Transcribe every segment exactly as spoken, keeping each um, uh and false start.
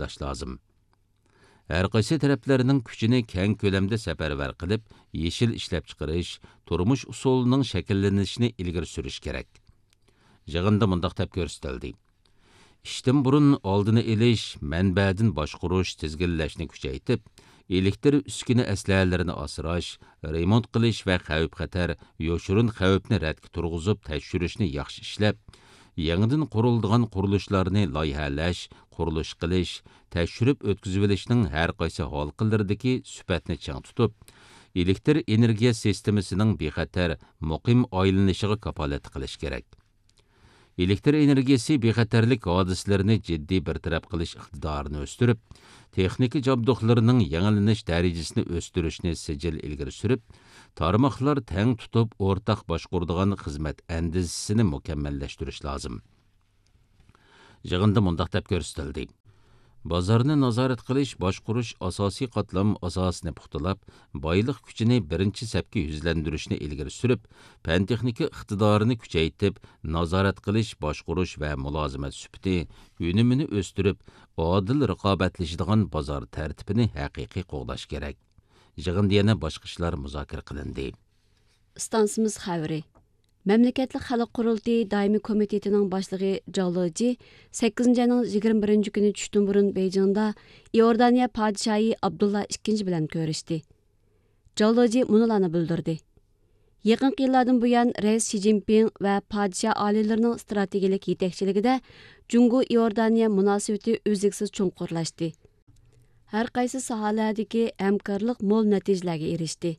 قوغداش لازىم. ھەر قايسى تەرەپلەرنىڭ كۈچىنى كەڭ كۆلەمدە سەپەرۋەر قىلىپ، يېشىل ئىشلەپچىقىرىش، تۇرمۇش ئۇسۇلىنىڭ شەكىللىنىشىنى ئىلگىرى سۈرۈش كېرەك. يىغىندا مۇنداق دەپ كۆرسىتىلدى: ئىشتىن بۇرۇن ئالدىنى ئېلىش، مەنبەدىن باشقۇرۇش، تىزگىنلەشنى كۈچەيتىپ، ئېلېكتر ئۈسكۈنە ئەسلىھەلىرىنى ئاسراش، رېمونت قىلىش ۋە خەۋپ-خەتەر، يوشۇرۇن خەۋپنى رەتكە تۇرغۇزۇپ تەكشۈرۈشنى ياخشى ئىشلەپ، يېڭىدىن قۇرۇلىدىغان قۇرۇلۇشلارنى لايىھەلەش، قۇرۇلۇش قىلىش، تەكشۈرۈپ ئۆتكۈزۈۋېلىشنىڭ ھەر قايسى ھالقىلىرىدىكى سۈپەتنى چىڭ تۇتۇپ، ئېلېكتر ئېنېرگىيە سىستېمىسىنىڭ بىخەتەر، مۇقىم ئايلىنىشىغا كاپالەتلىك قىلىش كېرەك. ئېلېكتر ئېنېرگىيەسى بىخەتەرلىك ھادىسىلىرىنى جىددىي بىر تەرەپ قىلىش ئىقتىدارىنى ئۆستۈرۈپ، تېخنىكا جابدۇقلىرىنىڭ يېڭىلىنىش دەرىجىسىنى ئۆستۈرۈشنى سىجىل ئىلگىرى سۈرۈپ، تارماقلار تەڭ تۇتۇپ ئورتاق باشقۇرىدىغان خىزمەت ئەندىزىسىنى مۇكەممەللەشتۈرۈش لازىم. يىغىندا مۇنداق دەپ كۆرسىتىلدى: بازارنى نازارەت قىلىش، باشقۇرۇش ئاساسىي قاتلام ئاساسىنى پۇختىلاپ، بايلىق كۈچىنى بىرىنچى سەپكە يۈزلەندۈرۈشنى ئىلگىرى سۈرۈپ، پەن-تېخنىكا ئىقتىدارىنى كۈچەيتىپ، نازارەت قىلىش، باشقۇرۇش ۋە مۇلازىمەت سۈپىتى، ئۈنۈمىنى ئۆستۈرۈپ، ئادىل رىقابەتلىشىدىغان بازار تەرتىپىنى ھەقىقىي قوغداش كېرەك. يىغىندا يەنە باشقا ئىشلار مۇزاكىرە قىلىندى. ئىستانسىمىز خەۋىرى. مەملىكەتلىك خەلق قۇرۇلتىيى دائىمىي كومىتېتىنىڭ باشلىقى جاۋ لېجى سەككىزىنچى ئاينىڭ يىگىرمە بىرىنچى كۈنى چۈشتىن بۇرۇن بېيجىڭدا ئىئوردانىيە پادىشاھى ئابدۇللا ئىككىنچى بىلەن كۆرۈشتى. جاۋ لېجى مۇنۇلارنى بىلدۈردى: يېقىنقى يىللاردىن بۇيان، رەئىس شى جىنپىڭ ۋە پادىشاھ ئالىيلىرىنىڭ ئىستراتېگىيىلىك يېتەكچىلىكىدە جۇڭگو ئىئوردانىيە مۇناسىۋىتى ئۈزلۈكسىز چوڭقۇرلاشتى. ھەر قايسى ساھەلەردىكى ھەمكارلىق مول نەتىجىلەرگە ئېرىشتى.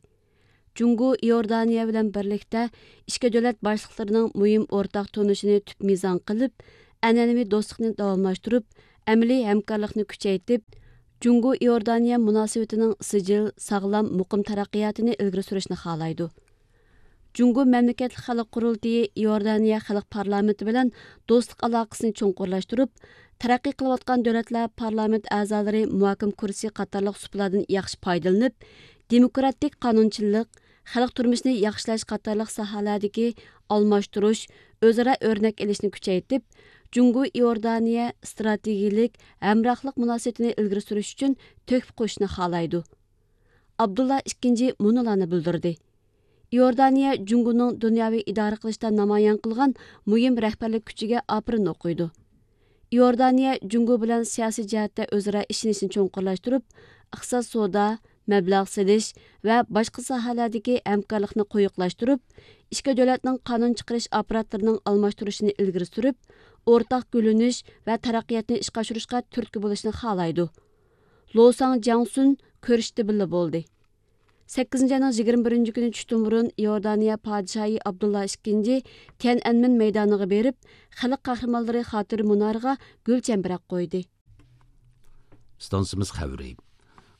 جۇڭگو ئىئوردانىيە بىلەن بىرلىكتە ئىككى دۆلەت باشلىقلىرىنىڭ مۇھىم ئورتاق تونۇشىنى تۈپ مىزان قىلىپ، ئەنئەنىۋى دوستلۇقنى داۋاملاشتۇرۇپ، ئەمەلىي ھەمكارلىقنى كۈچەيتىپ، جۇڭگو ئىئوردانىيە مۇناسىۋىتىنىڭ سىجىل، ساغلام، مۇقىم تەرەققىياتىنى ئىلگىرى سۈرۈشنى خالايدۇ. جۇڭگو مەملىكەتلىك خەلق قۇرۇلتىيى ئىئوردانىيە خەلق پارلامېنتى بىلەن دوستلۇق ئالاقىسىنى چوڭقۇرلاشتۇرۇپ، تەرەققىي قىلىۋاتقان دۆلەتلەر پارلامېنت ئەزالىرى مۇھاكىمە كۇرسى قاتارلىق سۇپىلاردىن ياخشى پايدىلىنىپ، دېموكراتىك قانۇنچىلىق، خەلق تۇرمۇشىنى ياخشىلاش قاتارلىق ساھەلەردىكى ئالماشتۇرۇش، ئۆزئارا ئۆرنەك ئېلىشنى كۈچەيتىپ، جۇڭگو ئىئوردانىيە ئىستراتېگىيىلىك ھەمراھلىق مۇناسىۋىتىنى ئىلگىرى سۈرۈش ئۈچۈن تۆھپە قوشۇشنى خالايدۇ. ئابدۇللا ئىككىنچى مۇنۇلارنى بىلدۈردى: ئىئوردانىيە جۇڭگونىڭ دۇنياۋى ئىدارە قىلىشتا نامايان قىلغان مۇھىم رەھبەرلىك كۈچىگە ئاپىرىن ئوقۇيدۇ. ئىئوردانىيە جۇڭگو بىلەن سىياسىي جەھەتتە ئۆزئارا ئىشىنىشنى چوڭقۇرلاشتۇرۇپ، ئىقتىساد، سودا، مەبلەغ سېلىش ۋە باشقا ساھەلەردىكى ھەمكارلىقنى قويۇقلاشتۇرۇپ، ئىككى دۆلەتنىڭ قانۇن چىقىرىش ئاپپاراتلىرىنىڭ ئالماشتۇرۇشىنى ئىلگىرى سۈرۈپ، ئورتاق گۈللىنىش ۋە تەرەققىياتنى ئىشقا ئاشۇرۇشقا تۈرتكە بولۇشنى خالايدۇ. لو ساڭ جياڭسۈن كۆرۈشتە بىللە بولدى. سەككىزىنچى ئاينىڭ يىگىرمە بىرىنچى كۈنى چۈشتىن بۇرۇن ئىئوردانىيە پادىشاھى ئابدۇللا ئىككىنچى تيەنئەنمېن مەيدانىغا بېرىپ، خەلق قەھرىمانلىرى خاتىرە مۇنارىغا گۈل چەمبىرەك قويدى. ئىستانسىمىز خەۋىرى.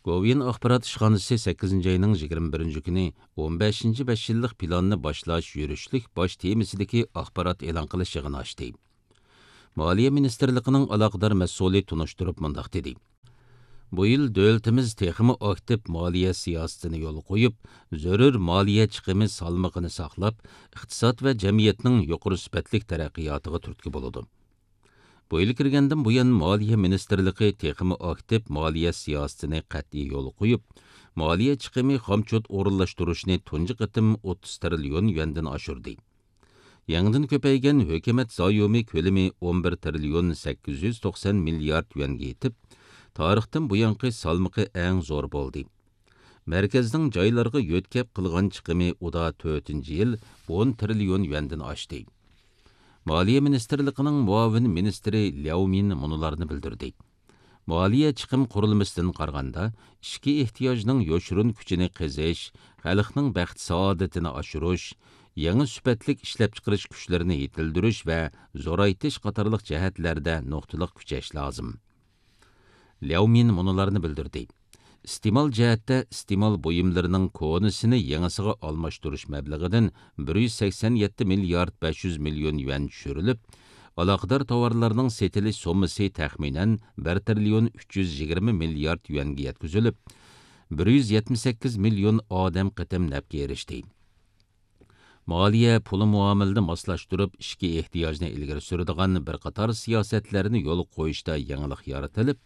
گوۋۇيۈەن ئاخبارات ئىشخانىسى سەككىزىنچى ئاينىڭ يىگىرمە بىرىنچى كۈنى ئون بەشىنچى بەش يىللىق پىلاننى باشلاش يۈرۈشلۈك باش تېمىسىدىكى ئاخبارات ئېلان قىلىش يىغىنى ئاچتى. مالىيە مىنىستىرلىقىنىڭ ئالاقىدار مەسئۇلى تونۇشتۇرۇپ مۇنداق دېدى: بۇ يىل دۆلىتىمىز تېخىمۇ ئاكتىپ مالىيە سىياسىتىنى يولغا قويۇپ، زۆرۈر مالىيە چىقىمى سالمىقىنى ساقلاپ، ئىقتىساد ۋە جەمئىيەتنىڭ يۇقىرى سۈپەتلىك تەرەققىياتىغا تۈرتكە بولىدۇ. بۇ يىل كىرگەندىن بۇيان، مالىيە مىنىستىرلىقى تېخىمۇ ئاكتىپ مالىيە سىياسىتىنى قەتئىي يولغا قويۇپ، مالىيە چىقىمى خامچوت ئورۇنلاشتۇرۇشنى تۇنجى قېتىم ئوتتۇز تىرىليون يۈەندىن ئاشۇردى. يېڭىدىن كۆپەيگەن ھۆكۈمەت زايومى كۆلىمى ئون بىر تىرىليون سەككىز يۈز توقسان مىليارد يۈەنگە يېتىپ، تارىختىن بۇيانقى سالمىقى ئەڭ زور بولدى. مەركەزنىڭ جايلارغا يۆتكەپ قىلغان چىقىمى ئۇدا تۆتىنچى يىل ئون تىرىليون يۈەندىن ئاشتى. مالىيە مىنىستىرلىقىنىڭ مۇئاۋىن مىنىستىرى لياۋ مىن مۇنۇلارنى بىلدۈردى: مالىيە چىقىم قۇرۇلمىسىدىن قارىغاندا، ئىچكى ئېھتىياجنىڭ يوشۇرۇن كۈچىنى قېزىش، خەلقنىڭ بەخت-سائادىتىنى ئاشۇرۇش، يېڭى سۈپەتلىك ئىشلەپچىقىرىش كۈچلىرىنى يېتىلدۈرۈش ۋە زورايتىش قاتارلىق جەھەتلەردە نۇقتىلىق كۈچەش لازىم. لياۋ مىن مۇنۇلارنى بىلدۈردى: ئىستېمال جەھەتتە ئىستېمال بۇيۇملىرىنىڭ كونىسىنى يېڭىسىغا ئالماشتۇرۇش مەبلىغىدىن بىر يۈز سەكسەن يەتتە مىليارد بەش يۈز مىليون يۈەن چۈشۈرۈلۈپ، ئالاقىدار تاۋارلارنىڭ سېتىلىش سوممىسى تەخمىنەن بىر تىرىليون ئۈچ يۈز يىگىرمە مىليارد يۈەنگە يەتكۈزۈلۈپ، بىر يۈز يەتمىش سەككىز مىليون ئادەم قېتىم نەپكە ئېرىشتى. مالىيە، پۇل مۇئامىلىنى ماسلاشتۇرۇپ، ئىچكى ئېھتىياجنى ئىلگىرى سۈرىدىغان بىر قاتار سىياسەتلەرنى يولغا قويۇشتا يېڭىلىق يارىتىلىپ،